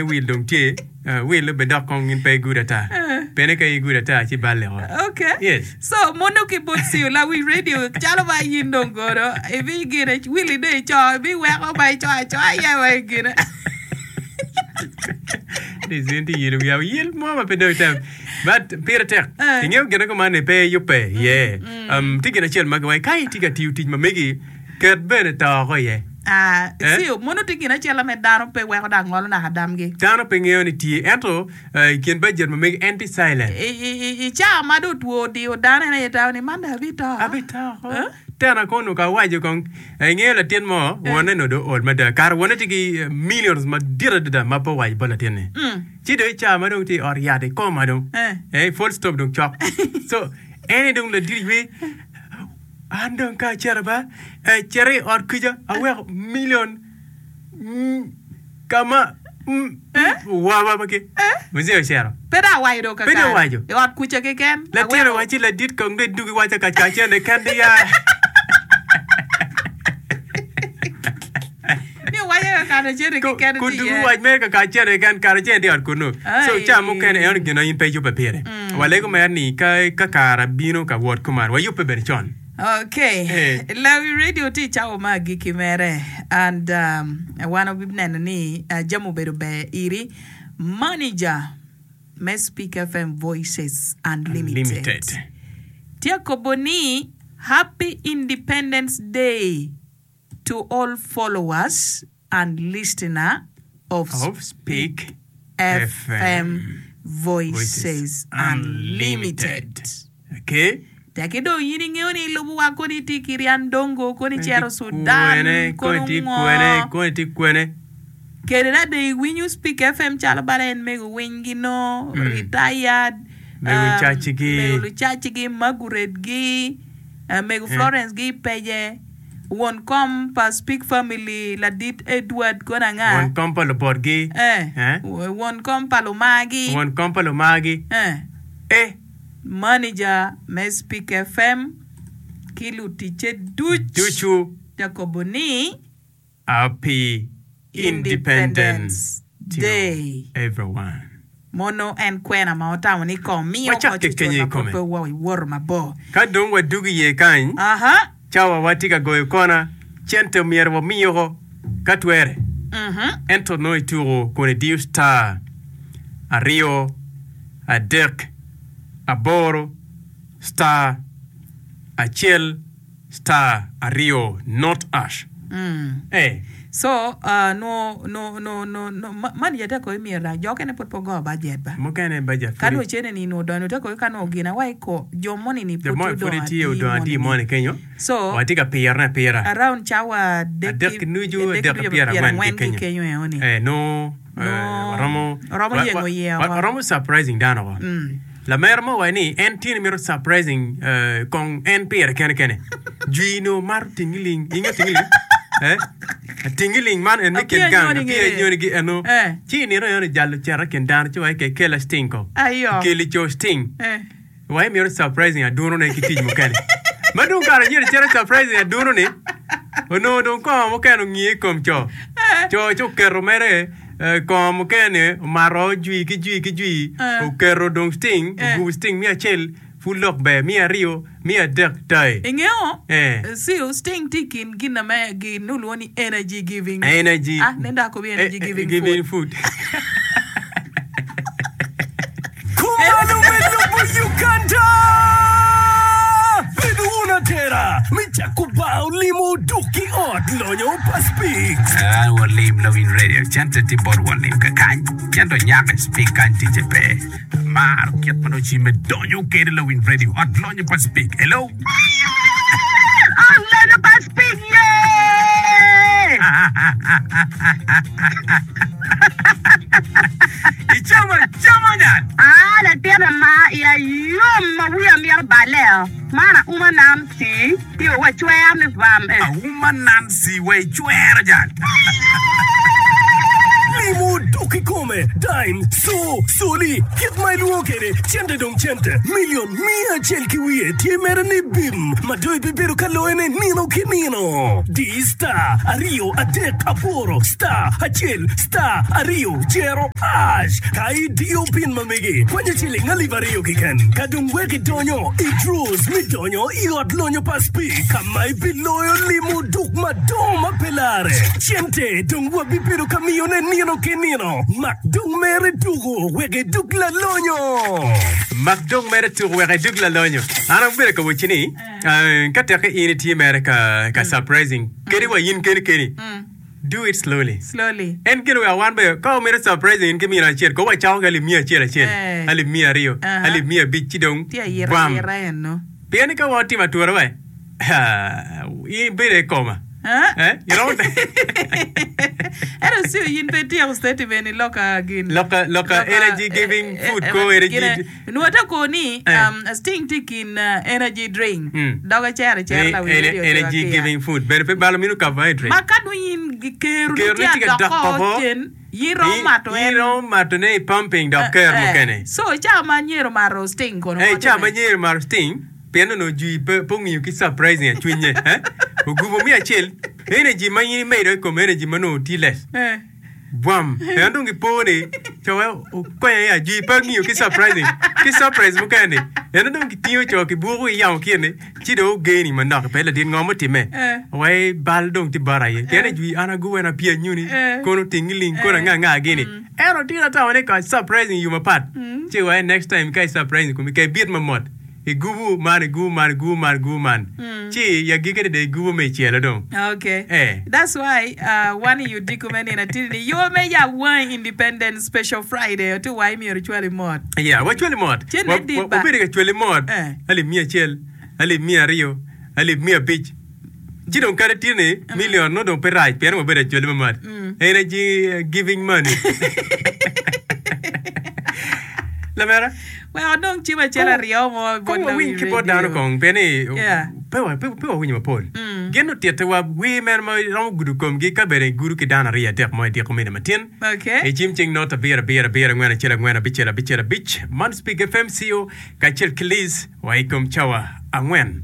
Wil dong tye, wil bene dok kong in pe igudo ata. Pene ka igudo ata ci balle o. Okay. Yes. So mono ki bot siyo lawi radio calo ma in dong kono ibi gine wili dong ico ibi weko ma ico acoa iye wa igine. This in tye yelo wiya yel mo ma pe dong item. But pire tek. Eh. Ingeyo gine kuman ni pe iyubbe iye. Um, tye gin acel ma giwaco ka itye ka tiyo tic ma megi ket bene to oko iye. Ah, Eh? ci mono tye gin acel me dano pe weko dok ngolo naka damgi. Dano pe ngeyo ni tye, ento eh, i kin bajet ma megi en tye silent. I, i, i, i cawa ma dong two odiyo dano en aye tamo ni man dong abito. Abito oko. Eh? Tena kono ka awaco kong, eh, ingeyo latin mo, wonne onongo dong ool mada. Kare wonne tye ki eh, millions madit adada ma pe owaco bot latin-ni. Ci dong i cawa ma dong tye i ot yat i koma dong, Eh. eh, full stop dong cok. So, en aye dong ladit ywe. An dong ka acito ba, cito i ot kuca aweko milion ka ma waba ma ki muzee ocito. Pe dong awaco dong Pe dong kakare. owaco. I ot kuca keken. Latin aweko. owacci ladit kong dong idug iwaca ka ca cene kende ya. Ni owaco kakare cene keken Kun tye dugu iye. wac mere kakare cene keken kare cene tye i ot kunnu. So Ai. ca mukene eno gin ma in pe iyubbe pire. Walego mere ni ka ka kare bino ka wot kuman wayubbe bene con. Okay. Eh. Lawi radio tye i cawa me agikki mere and um, wan wabineno ni uh, jami obedo ber iri. Manager me Speak FM Voices Unlimited. Unlimited. Tye akobo ni Happy Independence Day to all followers and listener of Of Speak FM Voices Unlimited. Okay. Teki dong in ingeyo ni ilubo wa koni itye ki Ryan Dongo, koni icito Sudan, Kwene, kono koni itye kwene, ngo. koni itye kwene. Kede da dong iwinyo Speak FM calo bala en mego winygi no, retired, Mego um, cacigi. mego lucacigi, Margaret-gi, uh, mego Florence-gi pece. Won kom pa Speak Family ladit Edward kono anga? Won kom pa lubotgi. Eh. Eh. Won kom pa lumargi. Won kom pa lumargi. Eh. Eh. Manager me Speak FM ki luticce duc. Ducu. Jakobo ni. Happy Independence Independence to Day. everyone. Mono en kwena ma otamo ni kong miyo Wacak koc kenyo ocun i ma pud kome. pe wawoto mabor. Ka dong wadugo iye kany, Aha. cawa watye ka goyo kona, cente omyero wami oko ka twere. Mhm. Ento nongo ituko kun idiyo star aryo, adek, aboro, star, acel, Star aryo not ash. Eh. So, uh, no, no, no, no, no, ma, man yete ko imiyo la jo kene pud pe ogo budget ba. Mukene budget Ka pud nwo cene ni nwo donyo te ko ka nwo gin awa iko jo moni ni jo pud moni pud odong tye adi odong adi moni ni. moni kenyo. So, Watye ka pirone apira. around cawa adek Adek ki nucu, adek adek ki ki pyerangwen pyerangwen ki ki kenyo. kenyo eoni. Eh, nongo eh, Nongo waromo romo wa- yengo wa- iye wa- oko. waromo surprising dano oko. Mm. Lamera mo owaco ni en tye ni mito surprising kong en pire kene kene. Jwi nongo mato tingiling. Inge tingiling? Eh? Tingiling man en me kin gang. Apia nyoni gi eno. Ci i nino eno jalo cito i kin dano ci waci ke kela sting ko. Keli co sting. Waci mito surprising adunu ne ki tic mukene. Ma dong kare anyira cito surprising adunu ni onongo dong kongo mukene ongiye i kom co. Co ci oketo mere Kongo mukene omato jwi ki jwi ki jwi, oketo dong citing, ogubo citing miya acel, pud lok ber, miya aryo, miya adek, tai. Ingeyo, Eh. Seal, sting tye i kin gin me gin olwongo ni energy giving. Energy. Ah, nen dok akobi energy Eh, eh, giving giving food. food. Kumalo me lobo Uganda! Bed wun atera me cako bar olimo duk ki ot lonyo pa Speaks. An walim lawiny radio cente tye bot walim kakany cente onyako i speak kany ticce pe amaro kit ma nongo cimme donyo kede lawiny radio ot lonyo pa speak hello Ot lonyo pa speak ye! Icamo acama nyal. Aa latin ama iya yom ma wiya mito balle o. Man auma Nancy ci wa cwer ni vam eh. Auma Nancy wa icwero jal. Limo duk. oduk kikome, dime, co, coli, kit ma ilwongo kwede, cente dong cente. Milion miya acel ki wiye tye mere ni bim ma dong ibibedo ka loyone nino ki nino. Di star aryo adek aboro star acel star aryo jero ash ka idiyo pin ma megi kwanyo ciling alip aryo keken ka dong wek idonyo i draws me donyo i ot lonyo pa Speke ka ma ibiloyo limo duk madongo ma pe larre. Cente dong wabibedo ka miyone nino ki nino. Mak dong mere tuko wek idug lalonyo. Mak dong mere tuko wek idug lalonyo. An abedo ka wacci ni, ka tekke in itye mere ka ka surprising kadi wa in keni keni, do it slowly. Slowly. En gin weko wan bene ka wamito surprising in ki mino acel, ko wacako ki alip miya acel acel, Eh. alip miya aryo, Aha. alip miya abic ci dong Tye ayita bam. ayita eno. Pien ni ka wan watimo atura wa, in ibedo i koma. Eh? Eh? Iromo Ento Sue, in pe ityeko statement i loka gin. Loka, loka energy giving food ko energy. Gine, nwo te ko ni Eh. um, Sting tye i kin uh, energy drink. Mm. Dok ecero acera Ni lawi ene- radio energy tye giving food. Bene pe balo mino carbohydrate. Ma ka dong in kero ni Kero ni tye tye ka adok dok ko oko. cen, in romo mato In en. romo mato ne i pumping dok kero Eh, mukene. So i cawa ma anyero mato Sting kono Eh, ngo ca ma timme? anyero mato Sting, pien onongo jwi pe pe ongiyo ki surprising a cwinye eh? Ogubo me acel, energy ma in imedo i kom energy ma nongo tye less. Eh. Bwam! En dong ipo ni co okonyo ya jwi pe ongiyo ki surprising ki surprise mukene ni. En dong kitingo co kibuko ki yamo kine ci dong ogeni manok pe ladit ngo mutimme. Eh. Wai bal dong tye bota aye. Pien ni jwi an agubo en apye anyuni Eh. kono otingi ling kono anga anga gini. Ento tye atamo ni ka surprising i yo mapat ci wai next time ka i surprising komi ka ibit mamot. Igubu man, igubu man, igubu man, igubu man. Ci i agikkine dong igubu me icelo dong. Okay. Eh. That's why uh, wan i odiko me nino atidi ni yo me yab wangi Independence Special Friday oti wa myero icwali mot. Yeah, wacwali mot. Cen Wa- me dit wa- ba. Wabedo ka cwali mot. Eh. Alip miya acel, alip miya aryo, alip miya abic. Ci dong kadi tye ni million nongo dong pe rac pien wabedo acwali mamat. Energy eh, giving money. Lamera. Wek odong cim acel aryo mo bot Kong lawi wawiny ki bot dano radio. kong pien ni Yeah. pe wa- pe pe wawinyo mapol. Gin otittiwa wer meno ma romo gudo komgi ka bene gudo ki dano aryo adek mo i dyeko mene matin. Okay. I cim cing not abiro abiro abiro angwen acel angwen abicel abicel abic man Speak FM CO kacel ki Liz wa i kom cawa angwen.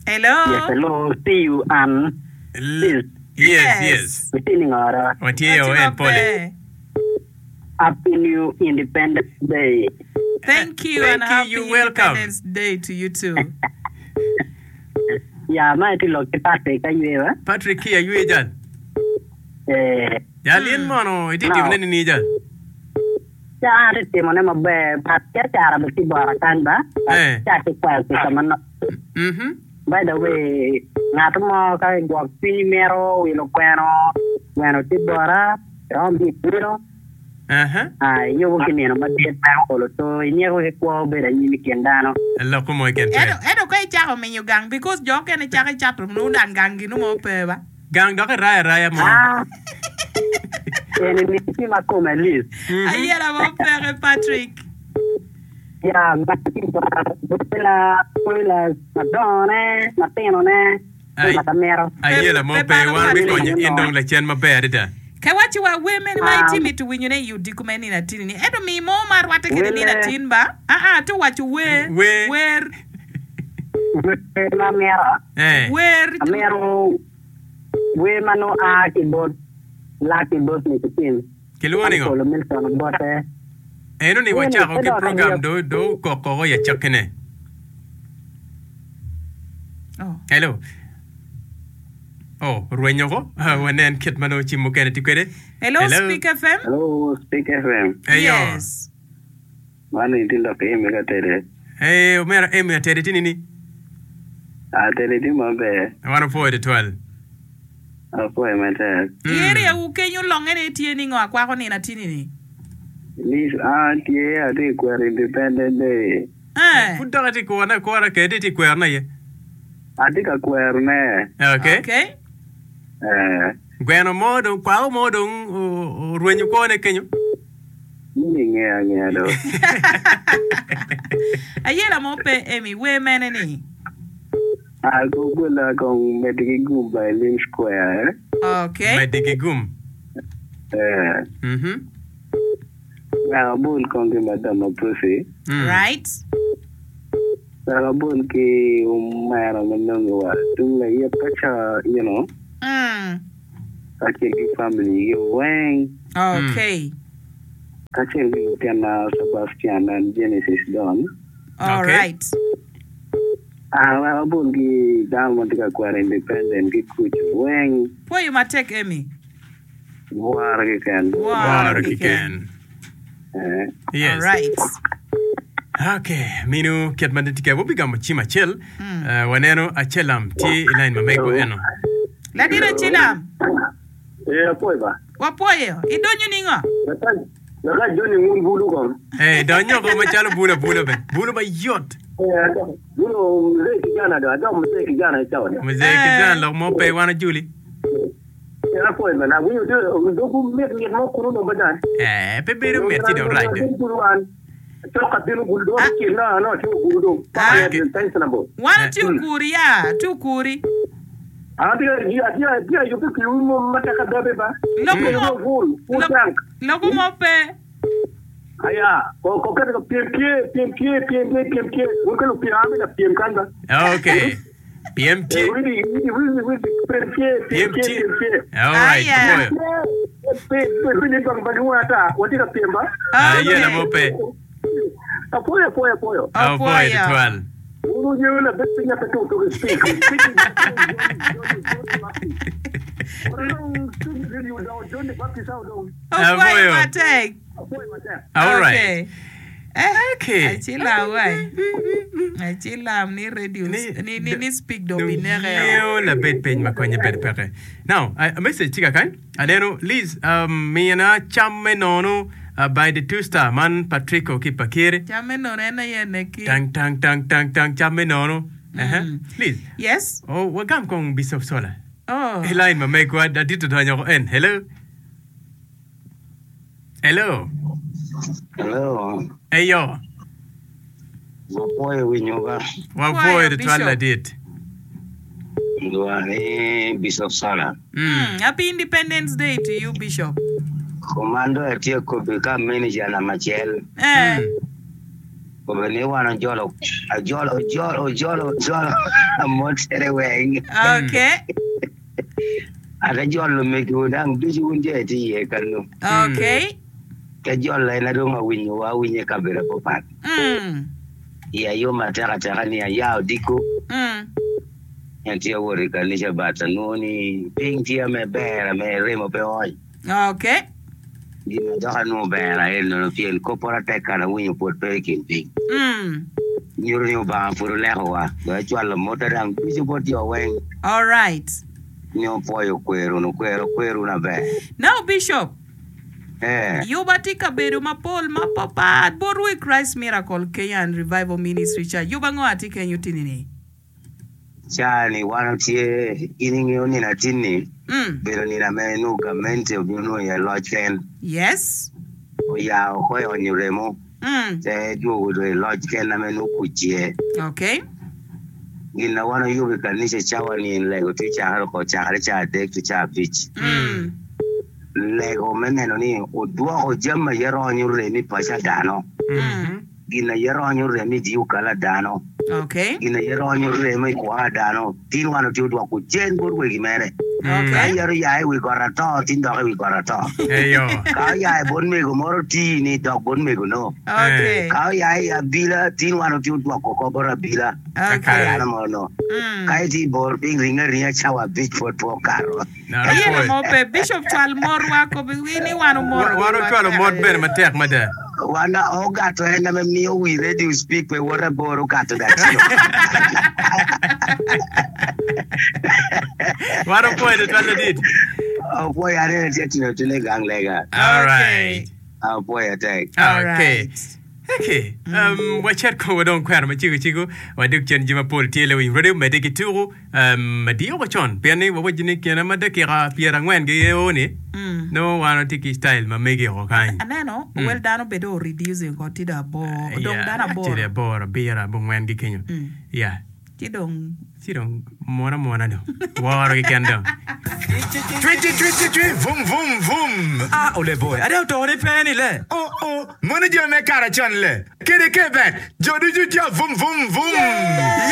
Hello. Yes, hello, see you and Liz. Yes, yes. Watye ni ngora. Watye o Watye en pole. maber. Happy New Independence Day. Thank you Thank and you, happy you welcome. Independence Day to you too. Ya, ma itye lok ki Patrick aywewa. Patrick ki aywe jal. Eh, Jal in mono itye No. timone nini jal? ca an atye timone maber, but biacara bene tye bota kany ba. But Eh. ca atye kwayo kica manok. Mhm. By the way, ngat mo ka gwok cwinyi mito wilo gweno, gweno tye bota, iromo bino ibino. Aha. Ah, iyubo ki nino madit meno olo to inyeko ki kwo bedo anyim i kin dano. Loko mo keken pe. Ento ento ka icako miyo gang because jo okene cako icato nongo dang gang ginu mo pe ba. Gang dok irayo araya mo. Ah, eni ni tye ma kome lit. Ayela mo peke Patrick. Ya, ma tye bota, boila, boila madongone, matinone. Ai, Pe amito. Ayela mo Pe pe, balo wan Patrick. bikonyo in dong lacen maber adada. Ka iwacci wa wer mene ma Ah. itye mito winyone i odiko me nino atin ni, ento mi mo ma rwatte kede nino Welle. atin ba? Aa, atye waco wer, Wer. wer, Wer ma amito. Eh. wer. Amito wer ma nongo a ki bot Lucky Bosnick Tim. Kilwongo ningo? Olo Milton bote. Eno ni Wer ni wacako pe ki dok program angeyo. do do okok oko i acakkine. Oh. Hello. Oh, orwenyo oko. Ah, wanen kit ma nongo cim mukene tye kwede. Hello, Speak FM. Hello, Speak FM. Eyo. Yes. Man itye lok ki Amy ka tede. Hey, omera Amy atede tye nini? Atede tye maber. Wan opwoyo tutwal. Apwoyo matek. I area wu kenyo longe ne tye ni ngo akwako nino atini ni? Liz, an tye atye ka kwero Independence Day. Eh. Pud dok atye ka kworone akwora kede itye ka kwerone aye. Atye ka kwerone. Okay. Okay. Eh. Gweno mo dong, kwako mo dong orwenyo kwone kenyo. In ingeyo angeya do. Ayela mo pe Amy, wer mene ni? Ah, gugula kong meddi ki gum by Lim Square. Okay. Meddi ki gum. Eh. Mhm. Wek abol kong ki Madam Apusi. Right. Wek abol ki omera ma nongo wa tung layit ka ca ino. Kacel ki family gi weng. Okay. Kacel ki lutinna Sebastian and Genesis Don. All right. Ah, wek abol ki dano ma tye ka kwero independent ki kuc weng. Pwoyo matek Emmy. Woro keken. Woro keken. Eh. Yes. All right. Okay, minu kit ma tye wabigamo cim acel. Eh, waneno Acelam tye i line ma mego eno. Ladit Acelam. Eh, apwoyo ba. Wapwoyo. Idonyo ningo? Laka Johnny ngun bulu kong. Eh, donyo ko macalo bulu abula be. Bulu mayot. Eh, adok bulu mzee kijana do, adok mzee kijana i cawa ni. Mzee kijana lok mo pe wan ojuli. Eh, apwoyo bene. Awinyo do dogwu mit mit mo kunu dong badan. Eh, pe bedo mit ci dong rac do. Bulu an. Cok ka bino bulu dong cel na ano tye oguru dong. Ah. Paka pensionable. Wan atye okuri ya, atye okuri. An atye atye atye ayubbe piwu mo matek adabe ba. Loko mo, Full, full tank. loko mo pe. Aya, ko ko keto ka pyem tye, pyem tye, pyem tye, pyem tye. Wun ka lupyem an bene apyem kany ba. Okay. Pyem tye. Widi, widi, widi, widi, pyem tye, pyem Pyem tye, tye. pyem tye. All right. Aya. Apwoyo. Pe, pe, widi bang bang wun ata, watye ka pyem ba. Ah, Okay. yela mo pe. Apwoyo, apwoyo, apwoyo. Apwoyo Apwoyo. tutwal. Wun wungeyo labed piny ape tuk tuk i speak. Opwoyo Apwoyo. matek. All right. Okay. Eh, Okay. acilam wai. Acilam ni radio Ni- ni ni ni speak dong Dong bineke. yeo labed piny ma konye bedo peke. Now, a message tye kakany. Aneno Liz um, mina cam me nono uh, by the two star man Patrico ki Pakir. Cam me nono en aye neki. Tang tang tang tang tang cam me nono. Uh-huh. Liz. Yes. Oh, wagam kong Bishop Sola. Oh. I line ma megwa adit odonyo ko en. Hello. Hello. Hello. Eyo. Wapwoyo winyo ba. Wapwoyo tutwal ladit. Lwonga ni Bishop Sala. Mm. Happy Independence Day to you Bishop. Komando atye kobi ka manager namba acel. Eh. Kobi ni wan ojolo ajolo ojolo ojolo ojolo amotere weng. Okay. Ate jolo megiwu dang ducu wun jo itye iye kanu. Okay. Te jolo en adong awinyowa awinyo i kabedo mapat. Mm. Iya yom atek ateka ni aya odiko. Mm. Ni atye awot i kanica but anwongo ni piny tye ame ber ame remo pe oony. Okay. Gin ma dok anwongo ber aye nono pien koppora tek kare awinyo pwod pe i kin piny. Mm. Nyuto ni Obanga pud olekowa. Dong acwalo motta dang ducu bot jo weng. Alright. Ni opwoyo kwerunu, kwero kwerwu maber. Now Bishop, Ee. Yuba tye kabedo mapol mapapat botwu i Christ Miracle Kenya and Revival Ministry Church. Yuba ngo atye kenyo tini-ni? Caa-ni wan watye, in ingeyo nino atin-ni Mm. bedo nino ame nongo gamente obino nongo iye loc ken. Yes. Oya oko i onyo remo Mm. te dwogo dong i loc ken ame nongo kuc iye. Okay. Gin na wan oyubo i kanica cawa ni en lego tye cakere oko cakere caa adek ki caa abic. Mm. Lego me neno ni odwoko jami aye ronyo rem i paco a dano. Mm. Gin aye ronyo remo i dyukal a dano, Okay. gin aye ronyo remo i kwo a dano. Tin wan otye odwoko cen bot wegi mere. Ka Okay. yat oya i wi got ato, tin dok i wi got ato. Eyo. Ka oya i bot mego moro tii ni dok bot mego no. Okay. Ka oya i abila, tin wan otye odwoko oko bot abila. Ka Okay. dano mo no. Mm. Ka itye i bor piny, ringe aringa cawa abic pwod pe okato. Aye mo pe Bishop cwal morwa kobi wi ni wan omoro Wan ocwalo mot bene matek mada. Wan ogato en ame miyo wi radio speak pe woto aboro okato datino. Wan opwoyo tutwal ladit. Opwoyo anene tye tino tino i gang lega. All right. Apwoyo tek. Okay. Okay. Um, wacit kong wadong kwena macego cego wadok cen ji mapol tye lewiny radio medde ki tuku. Adiyo ko con pien ni wawaco ni kine ma dakika pyerangwen gi o ni nongo wan watye ki style ma megi oko kany. Aneno wel dano bed o reducing ko tye dong aboro, odong dano aboro. Actually aboro, abiro, abongwen gi kenyo. Yeah. Ci dong. Ci dong mwon amwona dong. Woro keken dong. Cwi cwi cwi cwi cwi vum vum vum. Ah ole boy, ade oto ni pe ni le. Oh oh, mono jo me kare con le. Kede ke bet, jo ducu tye vum vum vum.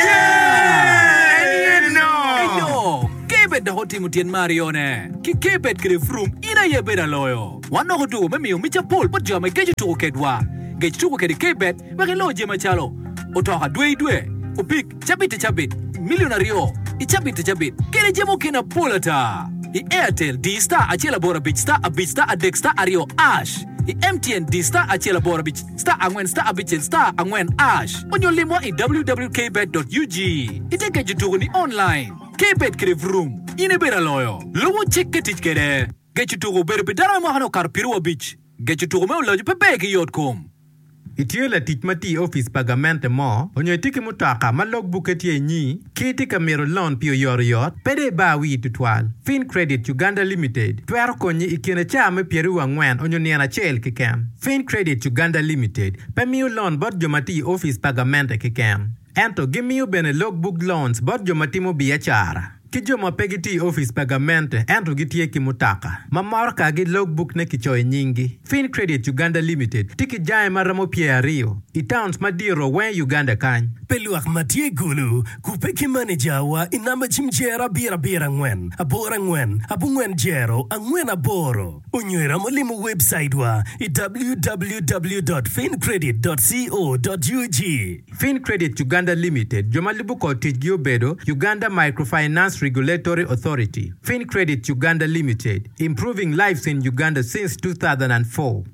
Yeah! En ye no. Eyo, Kebet dok otimo tyen me aryone. Ki Kebet kede Vroom, in aye ibedo aloyo. Wan dok otuko me miyo mic apol bot jo ma igeco tuko kedwa. Gec tuko kede Kebet wek ilo jami macalo, otoka dwe i dwe, opik cabit i cabit, milion aryo i cabit i cabit, kede jami mukene apol ata. I Airtel, di star acel aboro abic star abic star adek star aryo ash. I MTN, di star acel aboro abic star angwen star abicel star angwen ash. Onyo limwa i www.kbet.ug. Ite geco tuko ni online. Kbet kede Vroom, in ibedo aloyo. Lubo cik ki tic kede. Geco tuko obedo pi dano ma mwakane okato piru abic. Geco tuko me oloco pe ber ki yot kom. Itye latic ma tye i opic pa gamente mo, onyo itye ki mutoka ma log bukke tye inyi, ki itye ka mito lon pi oyotoyot, pe dong ibar wii tutwal. Fincredit Uganda Limited twero konyi i kine caa me pyeraryo angwen onyo nino acel keken. Fincredit Uganda Limited pe miyo lon bot jo ma tye i opic pa gamente keken, ento gimiyo bene log book loans bot jo ma timo biacara. Ki jo ma pe gitye i opic pa gamente ento gitye ki mutoka ma morokagi logbook-ne kicoyo nyinggi. Fincredit Uganda Limited tye ki jange ma romo pyeraryo i towns madito weng i Uganda kany. Pi lwak ma tye i Gulu, kubbe ki manejawa i namba cim jero abiro abiro angwen aboro angwen abongwen jero angwen aboro onyo iromo limo webcaitwa i www dot fincredit dot co dot ug. Fincredit Uganda Limited, jo ma lubo kor ticgi obedo, Uganda Microfinance Regulatory Authority, Fincredit Uganda Limited, Improving lives in Uganda since 2004.